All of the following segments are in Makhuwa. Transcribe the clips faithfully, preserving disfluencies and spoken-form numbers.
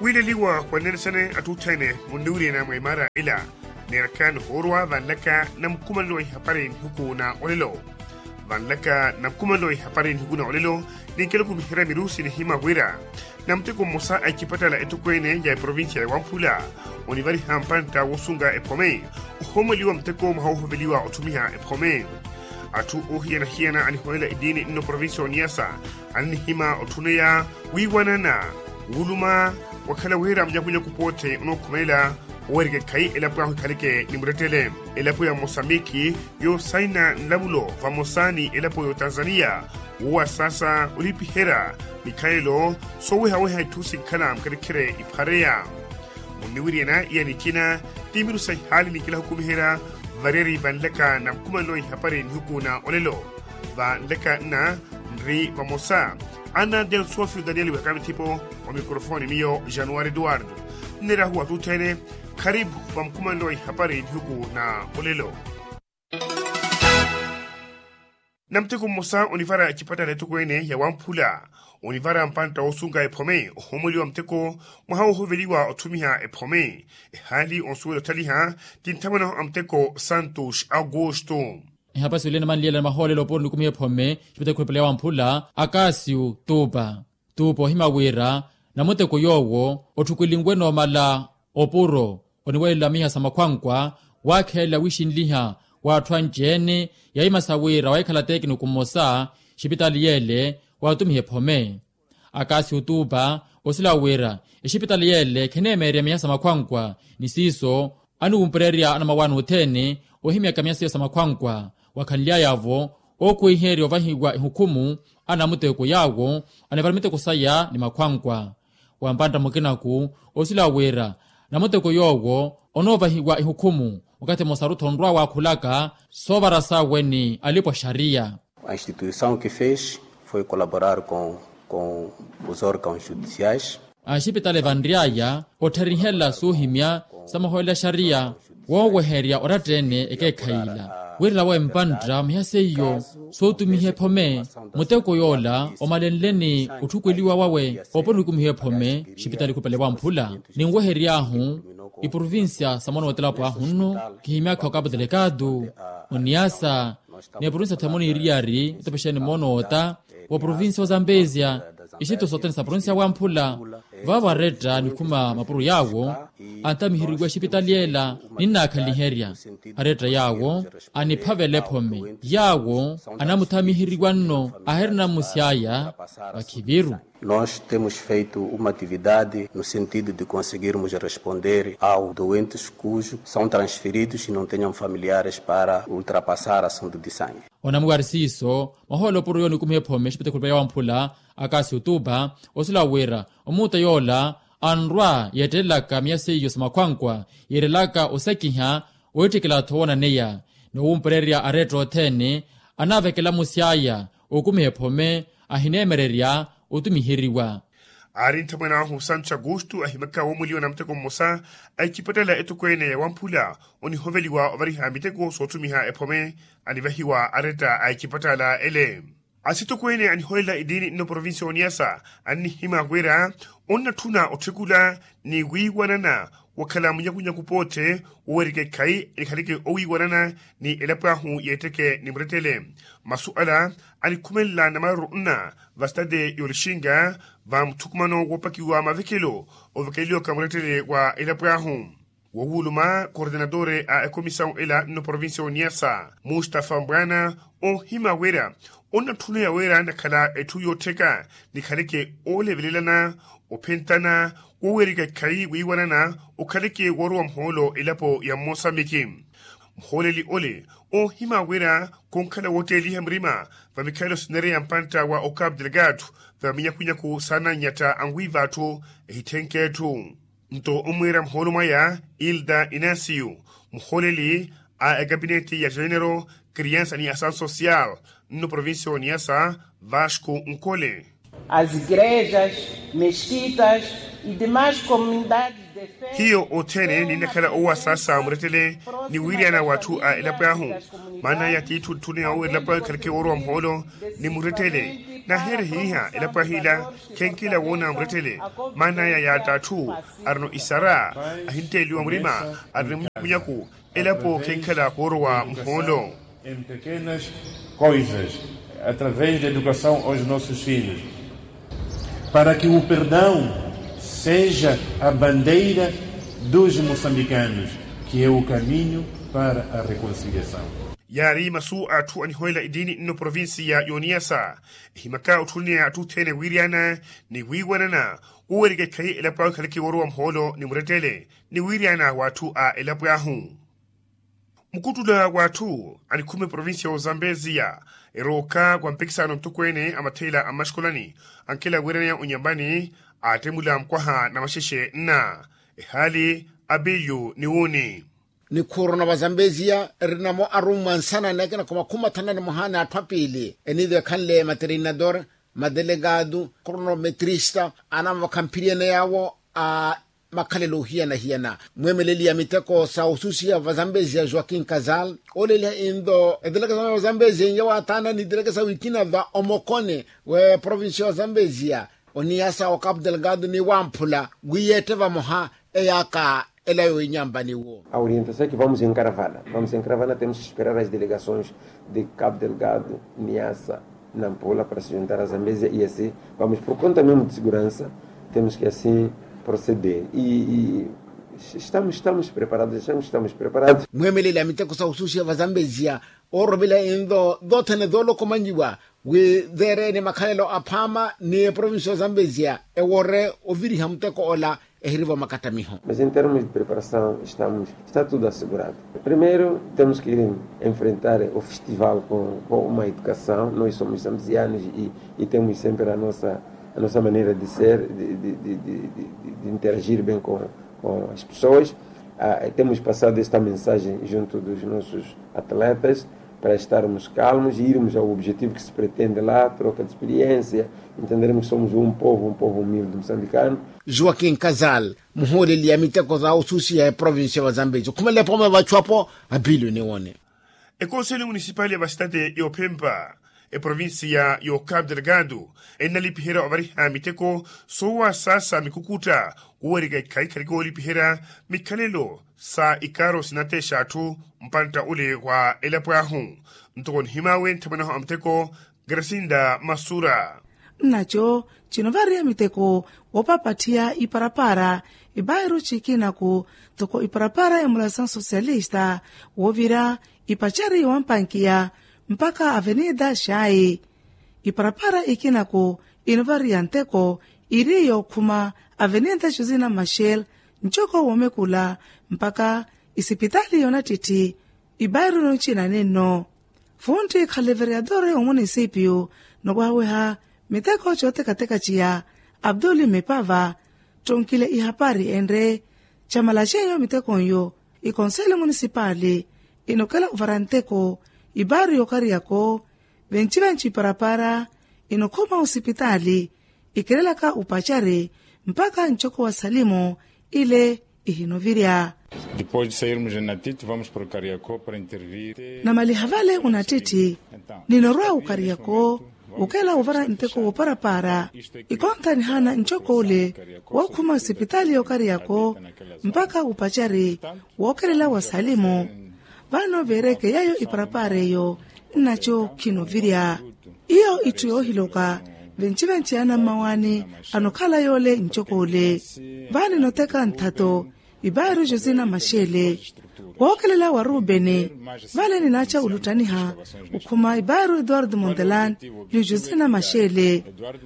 Ohiileliwa wa nnenisene atthu otthene munniwiriyana mwa imaara ila. Neeraka nihoorwa vanlaka na mukumanelo wa ihapari nihiku na olelo. Vanlaka na mukumanelo wa ihapari nihiku na olelo, ninkela okumiherya mirusi nihima wira na muteko mmosa a icipatala etokweene ya eprovincia ya wamphula onivariha mpantta woosunga ephome ohoomeliwa muteko mwaha woohoveliwa otthumiha ephome. Atthu oohiyana-hiyana aniholela etiini nno provincia oniyasa aninihima otthuneya wiiwanana, wuuluma wakhala wira munyakunyaku pootthe onookhumelela oweerika ekhayi elapo ahu ekhaleke ni murettele. Elapo ya mosambiki yoosaina nlamulo vamosa ni elapo y'otanzaniya woowasaasa olipiherya mikhalelo soowehaweha itthu sinkhala mukherekhere iphareya. Munniwiriyana iya nikina ti miru sa ihaali ninkela hukumiherya variyari vanlaka na mukumanelo ihapari nihiku na olelo. Vanlaka nna nri vamosa anna delsofio daniel wihaka mithipo. Wa mikrofoni miyo januari eduwardo nneerahu atthu otthene. Kharipu va mukumanelo ihapari nihiku na olelo. Na muteko mmosa onivara ecipatala etokweene ya wamphula onivara mpantta woosunga ephome ohoomeliwa muteko mwaha woohoveliwa otthumiha ephome. Ehaali onsuwela otthaliha ti nthamwanahu a muteko santos augusto. Ehapasi olina manliyela na mahoolelo opuro nikumiha ephome ecipatala ekhulupale ya wamphula akasiu tupa. Tupa ohima wira na muteko yoowo otthukulinwe noomala opuro oniwelela miha sa makhwankwa waakhelela wiixinliha w'atthu anci-ene. Yahimasa wira wahikhala tekiniku mmosa exipitali yeele waatumiha ephome. Akasiu tupa osila wira exipitali yeele kheneemeerya miha sa makhwankwa ni siiso aniwumpererya anamawaani othene ohimyaka miha seiyo sa makhwankwa. Wakhanly'aya-vo ookwiherya ovahiwa ehukhumu anamuteko yaawo anivara miteko saya ni makhwankwa. Wa mpantta mukinaku osila wira namuteko yoowo onoovahiwa ehukhumu wakathi mmosaru-tho onrwa waakhulaka soovara sawe ni alipo a xariya. A instituição que fez foi colaborar com com os órgãos judiciais. Axipitali vanry'aya otthariherya soohimya sa mahoolelo a xariya wooweherya oratta-ene ekeekhayi ila. Wirela wawe mpantta miha seiyo sootumiha ephome muteko yoola omalenle ni otthukweliwa wawe opuro nikumiha ephome. Xipitali khupale wamphula ninwehery'ahu iprovincia sa moona w'etelapo ahu nno kihimyaka okapu telekatu oniyasa ni eprovincia themoni iriyari etepexeni moona oota wa provincia ozambesia. Ixitto sothene sa provincia wamphula vavo aretta nikhuma mapuro yaawo antamiheriwa exipitali ela ninnaakhanliherya aretta yaawo aniphavela ephome yaawo anamuthamiheriwa nno ahirina mmusy'aya vakhiviru. Nós temos feito uma atividade no sentido de conseguirmos responder aos doentes cujo são transferidos e não tenham familiares para ultrapassar a sonda de sangue. Onamuwari siiso mwahoolo opuro yoonikumiha ephome exipitali khulupale ya wamphula akasi otupa osila wira omuuta yoola anrwa yeettelelaka miya seiyo sa makhwankwa yeerelaka osekiha oweettikela-tho woonaneya ni owumpererya aretta othene anaavekela musi aya okumiha ephome ahineemererya otumiheriwa. Aari nthamwene ahu santu xagustu ahimaka woomweliwa na muteko mmosa a icipatala etokweene ya wamphula onihoveliwa ovariha miteko sootumiha ephome anivahiwa aretta a icipatala ele. Asitokweene aniholela etiini nno provincia oniyasa annihima wira onnatthuna otthekula ni wiiwanana wakhala munyakunyaku pootthe wowerika ekhayi enikhaleke owiiwanana ni elapo ahu yeetteke ni murettele. Masu ala anikhumelela namaaruru nna va sitade y'olixinga va muthukumano woopakiwa mavekelo ovekeleliwaka murettele wa elapo ahu. Wowuluma kordenatore a ekomisawu ela nno provincia oniyasa mustafa mbwana ohima wira onnatthuna yawira nakhala etthu yoottheka nikhaleke oolevelelana ophentana wowerika ekhayi wiiwanana okhaleke woorowa muhoolo elapo ya mmosambiki. Muhooleli ole oohima wira khonkhala wootteliha murima va mikhalelo sinereya mpantta wa okapu delgado va minyakhunyaku saananyatta anwiiva atthu ehitthenk'etthu. Nto omwiira muhoolo mwaya ilda inasiyu muhooleli a ekapineti ya genero kriansa ni asawu sosiyal nno provincia oniyasa vasco nkole. As igrejas, mesquitas. Hiyo othene ninnakhala owasaasa murettele ni wiiriyana w'atthu a elapo ahu. Maana aya tiitthu otthuneya owo elapo ahu ekhaleke woorowa muhoolo ni murettele. Nahiyerehe iha elapo ahu ila khenkila woona murettele. Maana aya yaatta atthu arino isara, ahintteliwa murima, arino munyaku. Elapo khenkhala koorowa muhoolo. Em pequenas coisas, através da educação aos nossos filhos, para que o perdão seja a bandeira dos moçambicanos, que é o caminho para a reconciliação. Yaari masu a atthu anihoyela etiini nno provincia ya yoniyasa. Ehimaka otthuneya atthu othene wiiriyana ni wiiwanana, wowerika ekhayi elapo ahu ekhaleke woorowa muhoolo ni murettele ni wiiriyana w'atthu a elapo ahu. Mukuttula w'atthu anikhuma eprovincia ya ozambeziya, erooka wa mpikisano mutokweene a matheela a mmaxikolani, ankela wiiraneya onyambani, aattemula mukwaha na maxexe nna ehaali, apiyu ni wuuni. Nikhuuruna vazambeziya erinamo arummwa nsana ni akina khumakhuma thanu na nimoha ni atthu apiili eniive ekhanle materinador, madelegado, cronometrista, anamavakha mphiriyene yaawo a makhalelo ohiyana-hiyana. Mweemeleli ya miteko sa osusiya vazambeziya joaquin casal, ooleeliha into eteleke sa vazambeziya inya waathaana ni teleke sa wikina va omokoni w'eprovincia ya vazambeziya, oniyasa wa capo delgado ni wamphula wi yeette vamoha eyaaka elayo inyambani wo. A orientação é que vamos em caravana, vamos em caravana temos que esperar as delegações de capo delgado, niasa, nampula para se juntar a zambezia e assim vamos por conta mesmo de segurança, temos que assim proceder e estamos estamos preparados achamos estamos preparados. Mweemeleli a miteko sa osusiya vazambezia, ooromela into tothene toolokomanyiwa wi teereene makhalelo aphaama ni eprovincia ya zambezia, ewoore oviriha muteko ola ehiriva makattamiho. Mas em termos de preparação estamos está tudo assegurado. Primeiro temos que enfrentar o festival com uma educação nós somos zambizianos e temos sempre a nossa maneira de ser de interagir bem com as pessoas. Temos passado esta mensagem junto dos nossos atletas para estarmos calmos e irmos ao objetivo que se pretende lá troca de experiência. Entendermos que somos um povo um povo humilde moçambicano. Joaquin casal, muhooleli ya miteko za osusiya eprovincia ya vazambezi okhumelela epooma ya vachu apo. Apiliwe niwone. Ekonseli munisipali ya vasitati yoophempa eprovincia ya cabo delgado ennalipiherya ovariha miteko soowasaasa mikukutta kuwerika ikhayi khaliki woolipiherya mikhalelo sa ikaaro sinatexa atthu mpantta ole wa elapo ahu. Ntoko nihimaawe nthamwanahu a muteko grasinda masura. Nnaco cinovariya miteko woopapatthiya iparapara ipairu cikinaku ntoko iparapara ya mulasan socialista woovira ipacari wampankiya mpakha avenida xayi. Iparapara ikinaku inovariya nteko iri yookhuma avenida josina machel ncoko woomekula mpakha isipitali yoonattitti. Ipairu noncina ninno funtti khaleveriyatore omunisipiyu nowaaweha miteko cootekateka ciya abduli mipava ttonkile ihapari enre camalacenyo mitekonyo ikonseli munisipali inokela ovara nteko ipaaru yookariyako venci-venci iparapara inokhuma osipitali ikelelaka upacari mpakha ncoko wa salimu ile ihinovirya. Depois de sairmos de natiti vamos para o kariako para intervir. Namaliha vale unattitti ninorwa ukariako ukela uvara nteko wooparapara ikontanihana ncoko ule wookhuma osipitali yookariyako mpakha upacari wookelela wa salimu. Vano veereke yeeyo iparapara eyo nnaco khinovirya. Iyo itthu yoohiloka venci-venci anammawaani anokhala yoole ncoko ole. Vaani noteka nthato ipairu josina maxele wookelela wa rubeni. Vale ninaaca oluttaniha okhuma ipairu eduardo montelan ni josina maxele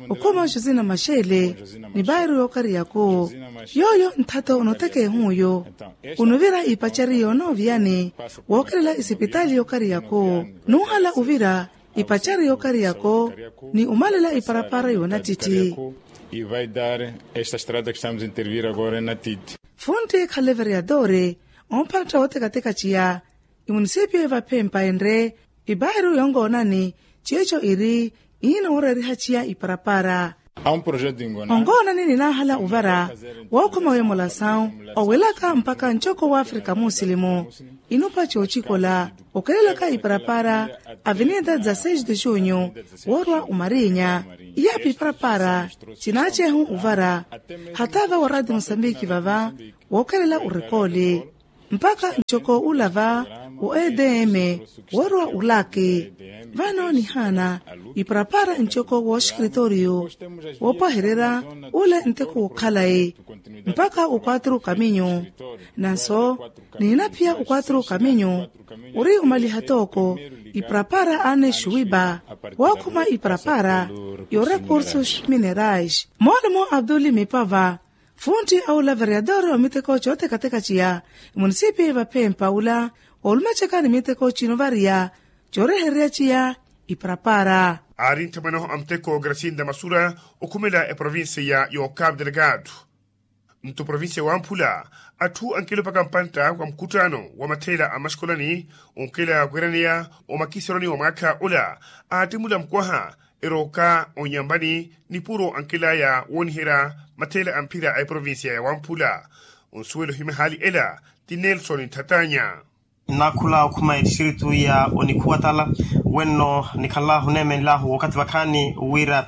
okhuma josina maxele ni pairu yookariyako. Yooyo nthato onotekeehuyo onuvira ipacari yoonooviyani wookelela isipitali yookariyako nuuhala uvira ipacari yookariyako ni omalela iparapara yoonattitti. Funtti khaleveriyatore omphantta wootekateka ciya imunisipiyo evaphempa enre ipairu yonkoonani ceeco iri ihinooreeriha ciya iparapara. Onkoonani ninaahala ovara wookhoma wemolasawu owelaka mpakha ncoko w'afrika musilimu. Inupa coocikola okelelaka iparapara avenida dezasseis de junho woorwa omarinya. Iyapi iparapara cinaacehu ovara hata va wa radio mosambiki vava wookelela orekooli mpakha ncoko ula va o edm woorwa olaki. Vano nihaana iparapara ncoko wooxikritoriyo woopwahererya ule nteko wookhalayi mpakha o quatro caminho. Nanso nihinaphiya o quatro caminho ori omaliha tooko iparapara anne xuwipa wookhuma iparapara yo recursos minerais moolumo abduli mipava funtti a ula vereador wa miteko cootekateka ciya emunisipi vaphempa ula oolumacaka ni miteko cinovariya coorehererya ciya iparapara. Aari nthamwanaho a muteko gracinda masura okhumela eprovincia ya cabo delgado nto provincia ya wamphula atthu ankilopaka mpantta wa mukhuttano wa matheela a maxkolani onkela kwiraneya omakiseroni wa mwaakha ola aattimula mukwaha erooka onyambani nipuro ankelaya wooniherya matheela a mphira a eprovincia ya wamphula onsuwela ohimya ehaali ela ti nelson nthatanya. Nnaakhula okhuma etistritu ya onikhuwa tala wenno nikhala oneemenlahu wakathi vakhaani wira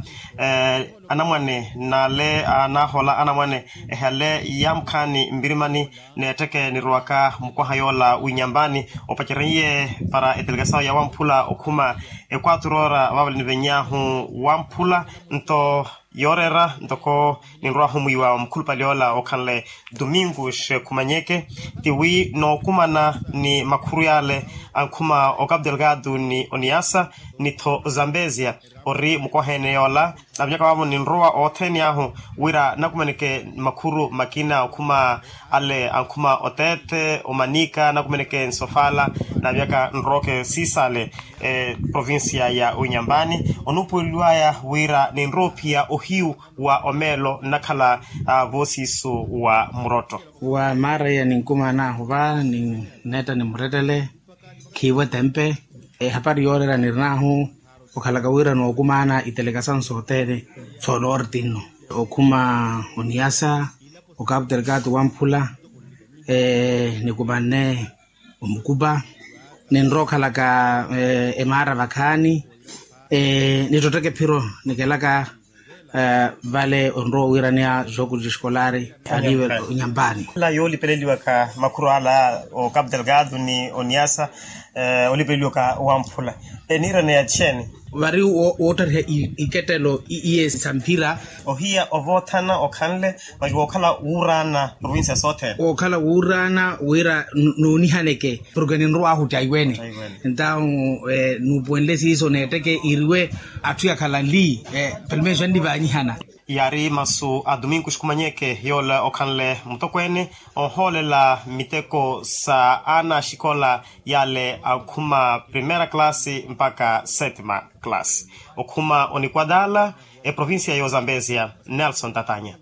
anamwane n'ale anaahola anamwane ehale yaamukhaani mpirimani n'etteke nirowaka mukwaha yoola winyambani opacerye para etelegasawu ya wamphula okhuma equatro ora vaavale niveny'ahu wamphula nto yooreera ntoko ninrwahu mwiiwa mukhulupale ola okhanle domingo xekhumanyeke tiwi nookumana ni makhuru yaale ankhuma o cabo delgado ni oniasa ni tho zambezia ori mukwaha ene yoola. Navinyaka vaavo ninrowa othene ahu wira nakumaneke makhuru makina okhuma ale ankhuma oteete omanika nakumaneke nsofala navinyaka nrooke siisale provincia ya unyambani onuupuweleliwaya wira ninroophiya ohiyu wa omeelo nnakhala voosiiso wa murotto. Wa maaraiya ninkumaan'ahu va ninneetta ni murettele khiivo etempe ehapari yooreera nirinahu okhalaka wira nookumaana itelekasawu sothene soonorti nno okhuma oniyasa okapu telekato wamphula nikumanne omukupa ninrookhalaka emaara vakhaani nittotteke phiro nikelaka vale onrowa owiraniya joku diskolari aliwe onyampani. Ela yoolipeleliwaka makhuru ala o capu delgado ni oniasa olipeleliwaka wamphula eniiraneya txeeni? Vari woottariha ikettelo iye sa mphira. Ohiya ovoothana okhanle masi wookhala wuuraana provincia sothene wookhala wuuraana wira noonihaneke porke ninrowahu taiwene. Entawu nuupuwenle siiso neetteke iriwe atthu yakhala nli pelumexo annivaanyihana. Yaari masu a domingo xikhumanyeke yoola okhanle mutokweene onhoolela miteko sa aana axikola yaale ankhuma primeira classe mpakha settima classe okhuma onikwatala eprovincia y'ozambezia nelson tatanya.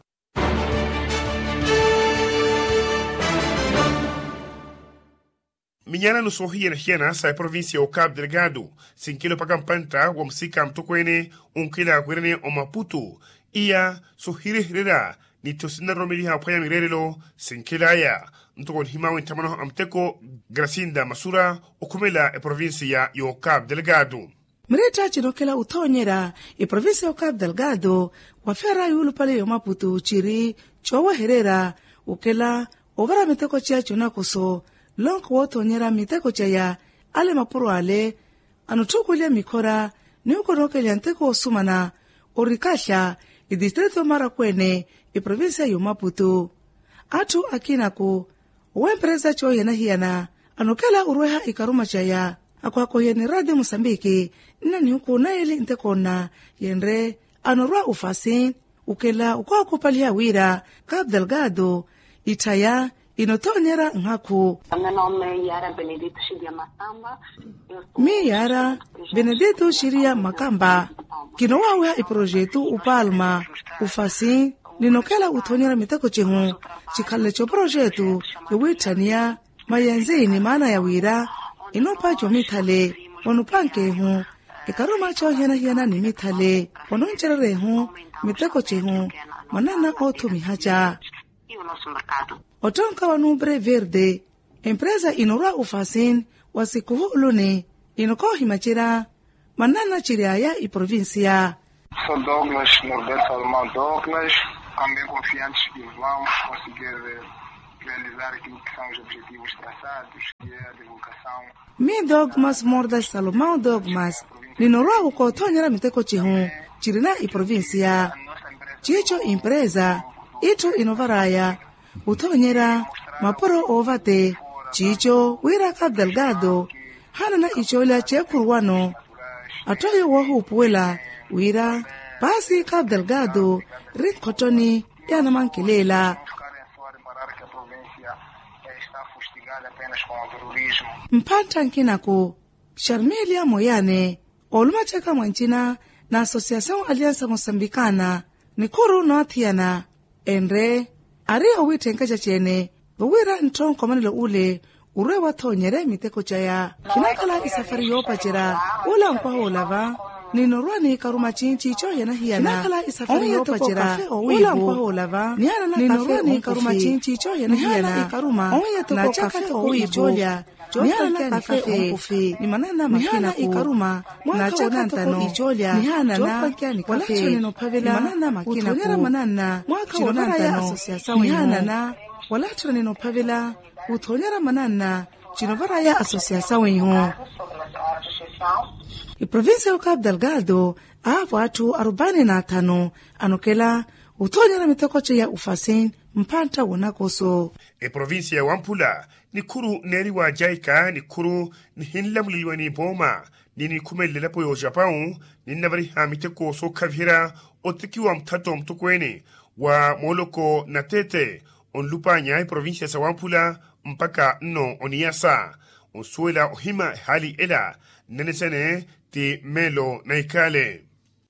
Minyalano soohiyana-hiyana sa eprovincia y'o capu delgado sinkela opaka mpantta wa musika mutokweene onkela kwiraniya omaputu iya sohirehererya nitho sinnaroromeliha aphwanya mireerelo sinkelaya. Ntoko nihimawe nthamwanaho a muteko gracinda masura okhumela eprovincia y'o capu delgado. Mireetta cinokhela othoonyerya eprovincia y'o capu delgado wafera yuulupale y'omaputu ciri coowehererya okhela ovara miteko ceya conakoso lonko woothoonyerya miteko ceya ale mapuro ale anotthukulya mikhora ni okonookeliha nteko osumana orikaxya etistrito marakweene eprovincia y'omaputu. Atthu akinaku owa emperesa coohiyana-hiyana anokela orweha ikaruma caya akohakohiya ni radio musambiki nna nihuku naili ntekonna yenre anorwa ofasi. Okela okookupaliha wira capu delgado itthaya inothonyerya nhakhu. Miyo yaara benedito xiriya makamba kinowaawiha eprojetu opalma ofasi ninokela othonyerya miteko cihu cikhalale coprojetu yowiitthaniya mayenzi ni maana ya wira inupa comithale onupankehu Ekaruma choohiyana-hiyana ni mithale ononcererya ehu miteko cihu manana oothumihaca. Ottonka wa numbre verde empresa inorwa ufasin wa sikhuhuuluni inokoohimacerya manana ciryaya iprovincia. Sou douglas norberto almau douglas. Também confiantes que vamos conseguir realizar aquilo que são os objetivos traçados, que é a divulgação. Mi dogmas mordas salomão dogmas ninorwa wukoothonyerya miteko cihu cirina iprovincia. Ciico empresa itthu inovaraya wuthoonyerya mapuro oovate. Ciico wira cabo delgado haanana icoolya ceekhuruwano. Atthu ayo woohuupuwela wira paasi cabo delgado ri nkhottoni yaanamankileela. Mpantta nkinaku sharmilia moyane oolumacaka mwancina na associação aliança mosambikana nikhuru noothiyana enre ari owiitthenkeca ceene vowira ntthu onkomanelo ule urwe wathoonyerye miteko caya. Khinakhala isafari yoopacerya ula nkwaha olava ninorwa ni ikaruma cinci coohiyana-hiyana. Khinakhala isafari yoopacerya ula nkwaha olava nihanana kafe ninorwa ni ikaruma cinci coohiyana-hiyana. Ikaruma ohiya toko kafe owiipo nihanana kafe omukufi ni manana makina ku na caka toko icoolya nihanana wala tthonene ophavela uthoonyera manana mwaka woonantano nihanana wala tthonene ophavela uthoonyera manana cinovaraya associação iho. Iprovincia ya cabo delgado aavo atthu arubaini na athanu anokela uthoonyera miteko ceya ufasin mpantta wonakoso. Eprovincia ya wamphula nikhuru neeriwa jaika nikhuru nihinlamuleliwa ni pooma ni nikhumelele elapo ya ojapau ninnavariha miteko sookhaviherya otekiwa muthato mutokweene wa mooloko na tete onlupanya eprovincia sa wamphula mpakha nno oniyasa onsuwela ohima ehaali ela nnenesene ti mmeelo na ikhaale.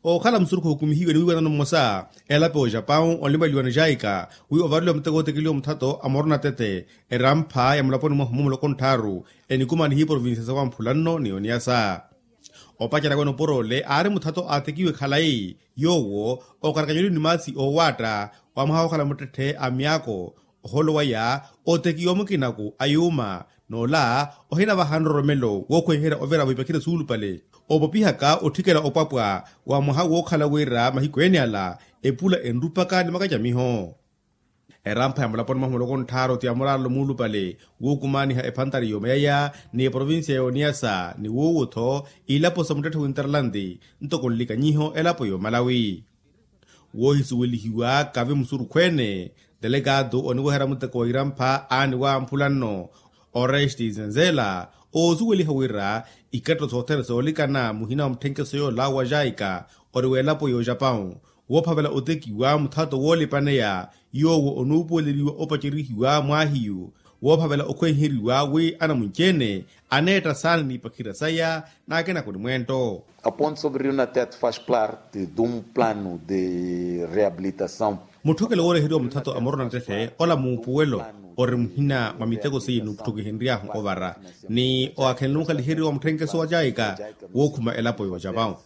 Okhala musurukhu okumihiwe ni wiiwanano mmosa elapo ya ojapau onlupaliwa ni jaika wi ovareliwa muteko otekeliwa muthato a morona tete erampha ya mulaponi mwahu mumuloko ntthaaru enikumanihiwe provincia sa wamphula nno ni oniyasa. Opacerya wene oporoole aari muthato aatekiwe khalayi yoowo okarakanyeliwe ni maasi oowaatta wa mwaha wookhala muttetthe a myaako oholo waya otekiwa mukinaku a yuuma n'ola ohinavaha nroromelo wookhwenherya ovira vaipakhire suulupale opopihaka otthikela opwapwa wa mwaha wookhala wira mahiku ene ala epula enrupaka ni makacamiho. Erampha ya mulaponi mwahu muloko ntthaaru ti ya muraalo muulupale wuukumaaniha ephantari yoomayaya ni eprovincia ya oniyasa ni wuuwo-tho ilapo sa muttetthe winterlandi ntoko nlikanyiho elapo yoomalawi. Woohisuwelihiwa kavi musurukhu ene delegado oniweherya muteko wa irampha aani wamphula nno oresti zenzela oosuweliha wira ikatto sothene soolikana muhina wa mutthenkeso yoola wa jaika ori w'elapo y'ojapau woophavela otekiwa muthato woolipaneya yoowo onuupuweleliwa opacerihiwa mwaahiyu woophavela okhwenheriwa wi anamunci-ene aneetta saana n'ipakhira saya n'akinako ni mweento. A ponte sobre rio natet faz parte de um plano de reabilitação. Mutthokelo wooreheriwa muthato a morona nttetthe ola muupuwelo ori muhina mwa miteko seiye nuutthokihenry'ahu ovara ni oakhenle mukhaliheriwa mutthenkeso wa jaika wookhuma elapo y'ojapau.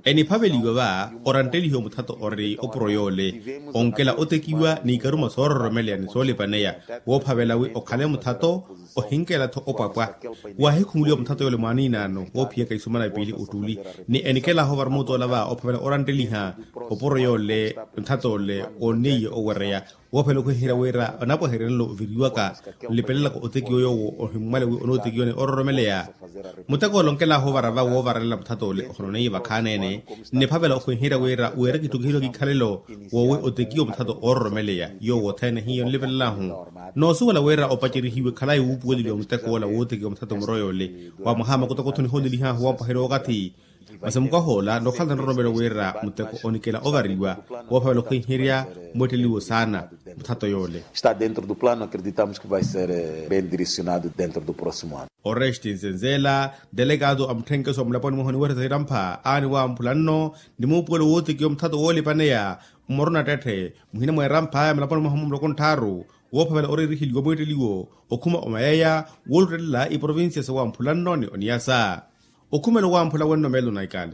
Eniphaveliwa va oranttelihiwa muthato ori opuro yoole onkela otekiwa n'ikaruma soororomeleya ni soolipaneya woophavela wi okhale muthato ohinkela-tho opwapwa. Waahikhumuliwa muthato yoole mwaaniinaano woophiyaka isumana piili ottuli ni enikelahu ovara muutoola va ophavela orantteliha opuro yoole muthato ole woonneiye owereya woophela okhweherya wira onapwaheryanelo oviriwaka nlipelelaka otekiwa yoowo ohimmwale wi onootekiwa ni ororomeleya. Muteko ole onkelahu ovara va woovaralela muthato ole ohononeiye vakhaani-ene nniphavela okhwenherya wira wira kitthu kihiwa kikhalelo woowi otekiwa muthato oororomeleya yoowo othene hiyo nlipelela-hu. Noosuwela wira opacerihiwe khalayi wuupuweleliwa muteko ola wootekiwa muthato muro yoole wa mwaha makutakutho nihoolelihahu woompwaherya okathi. Masi mukwaha ola nookhala nroromelo wira muteko onikela ovariwa woophavela okhwenherya mweetteliwo saana muthato yoole. Está dentro do plano acreditamos que vai ser bem direcionado dentro do próximo ano. Oresti nzenzela delegado a mutthenkeso wa mulaponi mwahu oniweresa irampha aani wamphula nno ni muupuwelo wootekiwa muthato woolipaneya mmorona ttetthe muhina mwa erampha ya mulaponi mwahu mumuloko ntthaaru woophavela oreeriheliwa mweetteliwo okhuma omayaya wooluttelela iprovincia sa wamphula nno ni oniyasa. Okhumela owamphula wenno meelo na ikaali.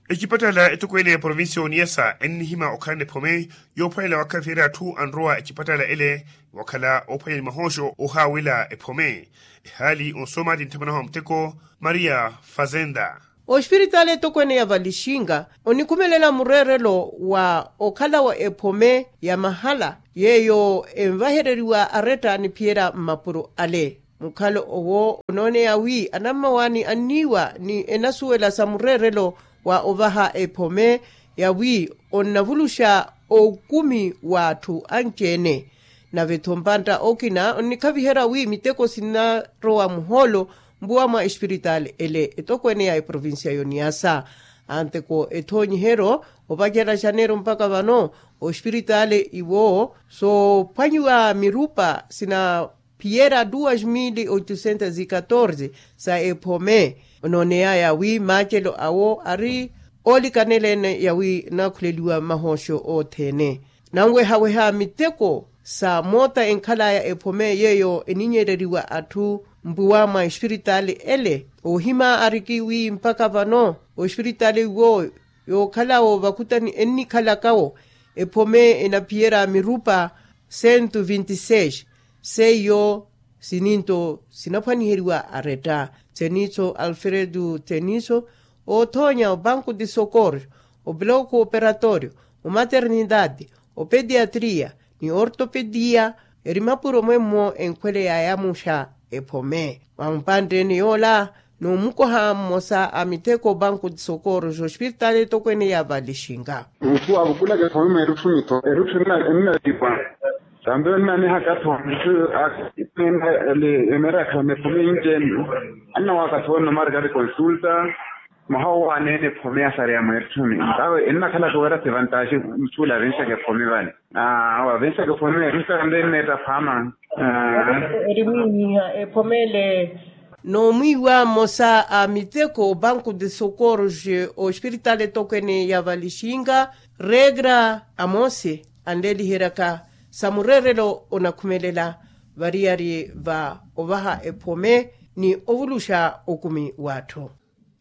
Ecipatala etokweene ya provincia ya oniyasa ennihima okhalana ephome yoophwanela wakhaviherya atthu anrowa ecipatala ele, wakhala oophwanya ni mahooxo ohaawela ephome. Ehaali onsooma ti nthamanaho a muteko maria fazenda. Ospiritaali etokweene ya valixinga onikhumelela mureerelo wa okhala wa ephome ya mahala yeeyo envahereriwa aretta ni phiyera mmapuro ale. Mukhalo owo onooneya wi anammawaani anniiwa ni enasuwela sa mureerelo wa ovaha ephome ya wi onnavuluxa okumi w'atthu anci-ene. Nave-tho mpantta okina onnikhaviherya wi miteko sinnarowa muhoolo mpuwa mwa espiritaali ele etokweene ya eprovincia y'oniyasa. Anteko ethoonyiheryo opacerya xaneero mpakha vano ospiritaali iwo soophwanyiwa mirupa sina phiyera duas mil oitocentos e catorze sa ephome. Onooneyaya wi maacelo awo ari oolikanela-ene yawi nakhuleliwa mahooxo othene. Nanwehaweha miteko sa moota enkhalaya ephome yeeyo eninyereriwa atthu mpuwa mwa espiritaali ele. Ohima ariki wi mpakha vano ospiritaali iwo yookhalawo vakutani ennikhalakawo ephome enaphiyera mirupa cento vinte e seis. Seiyo sininto sinaphwaniheriwa aretta. Thenitho alfredo thenitho oothoonya obanco de socorro, obloco operatorio, omaternidade, opediatria, ni ortopedia. Eri mapuro mwemmo enkhwele yaayamuxa ephome mwa mpantteni yoola. N'omukoha mmosa a miteko banco de socorro ospiritaali etokweene ya valixinga. Muthu avukulaka ephome mweerutthu mitho erutthu ennatipa. Tambe ennanihaka tho muthu aka ipena ele emerakha mephome inci enu. Annawaaka tho nno marikari konsulta. Mwaha owo aneene ephome ya sareya mweerutthuni tawe ennakhalaka wira si vantaxi. Muthuula avenxaka ephome vale. Awa avenxaka ephome mweerutthuni tambe enneetta phaama. Eri mwiiha ephome ele. N'omwiiwa mmosa a miteko banco de socorros ospiritaali etokweene ya valixinga regra amose anleeliheryaka sa mureerelo onakhumelela variyari va ovaha ephome ni ovuluxa okumi w'atthu.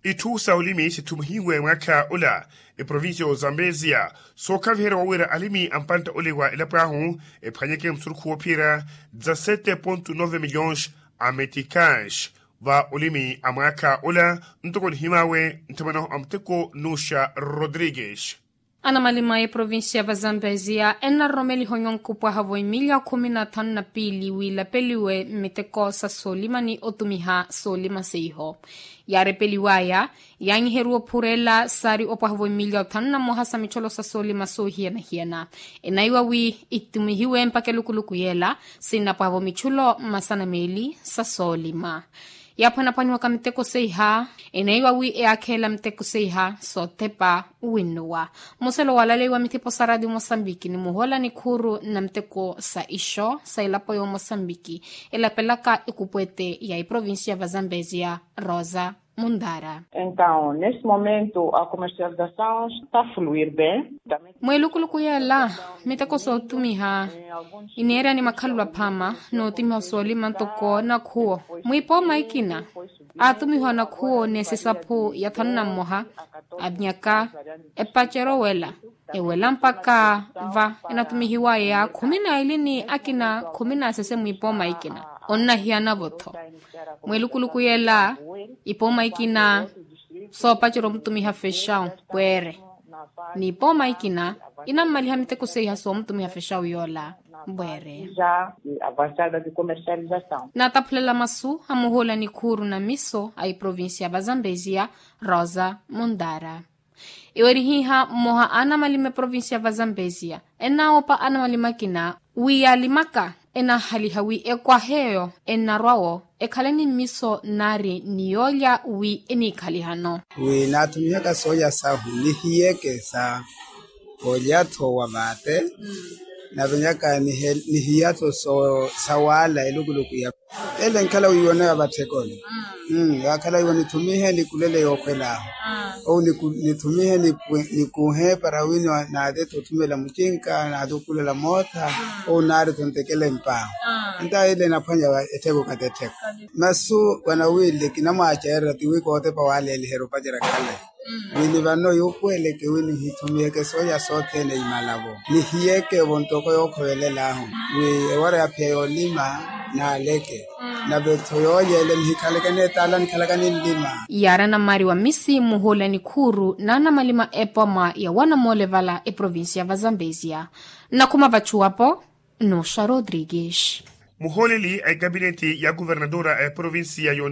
Itthu sa olimi sithumihiwe mwaakha ola eprovincia ya ozambesia sookhaviherya wawira alimi a mpantta ole wa elapo ahu ephwanyeke musurukhu woophiyerya dezasete ponto nove milhões a meticais va olimi a mwaakha ola. Ntoko nihimaawe nthamanaho a muteko nuxa rodrigues. Anamalima a eprovincia va zambezia ennaroromeliha onyonka opwahavo emilya khumi na thanu na piili wiilapeliwe mmiteko sa soolima ni otumiha soolima seiho. Yaarepeliwaya yaanyiheruwa ophureela saari opwahavo emilya othanu na mmoha sa micholo sa soolima soohiyana-hiyana. Enaiwa wi itumihiwe mpakha elukuluku yeela sinnapwahavo micholo mmasana meeli sa soolima. Yaaphwanaphwaniwaka miteko seiha eneiwa wi eyaakheela miteko seiha soothepa winnuwa. Muselo walaleiwa mithipo sa radio mosambiki ni muhola nikhuuru na miteko sa ixo sa elapo ya omosambiki elapelaka ekupwete ya eprovincia va zambezia rosa mundara. Entaw neste momento a comercialização está fluir bem. Mweelukuluku yeela miteko sootumiha ineerya ni makhalelo aphaama nootumiha soolima ntoko nakhuwo mwiipooma ikina aatumiha onakhuwo ni esisaphu ya thanu na mmoha. Anyaka epacero wela ewela mpakha va enatumihiwaya khumi na ili ni akina khumi na sese mwiipooma ikina. Onnahiyanavo-tho mweelukuluku yeela ipooma ikina soopacerya omutumiha fexawu pweere. N'ipooma ikina inammaliha miteko seiha soomutumiha fexawu yoola mbweere. Naataphulela masu a muhuula nikhuuru na miso a eprovincia va zambezia rosa mundara. Iwerihiha mmoha a anamalima eprovincia va zambezia ennawoopa anamalima akina wi yaalimaka enahaliha wi ekwahe eyo ennarwa-wo ekhale ni mmiso nari ni yoolya wi eniikhalihano. Wi naathumihaka soolya sahu nihiyeke sa olya-tho wa vaate. Navenyaka nihiyato sawaala elukuluku ya ele nkhala wiiwoneya vatthekoni. Yaakhala iwo nithumihe nikulele yookhwelaahu ou nithumihe nikuhe para wino naatete othumela mucinka naatete okulela mootha. Ou naari tontekele mpaahu. Nta ile naphwanya ettheko katettheko. Masu wanawiile kinamwaacererya tiwi kootepa waaleeliherya opacerya khale. Wini vano yuupuweleke wi nihithumiheke sooya sothene imalavo nihiyeke vo ntoko yookhovelelaahu wi ewara yaphiya yoolima naaleke. Nave-tho yooyeele nihikhaleke neetaala nikhalaka ninlima. Yaari anammari wa misi muhuula nikhuuru n'anamalima epoma ya wanamoole vala eprovincia va zambezia. Nnakhuma vachuwapo. Nuxa rodrigues. Muhooleli a ekapineti ya kuvernadora a eprovincia ya yoni.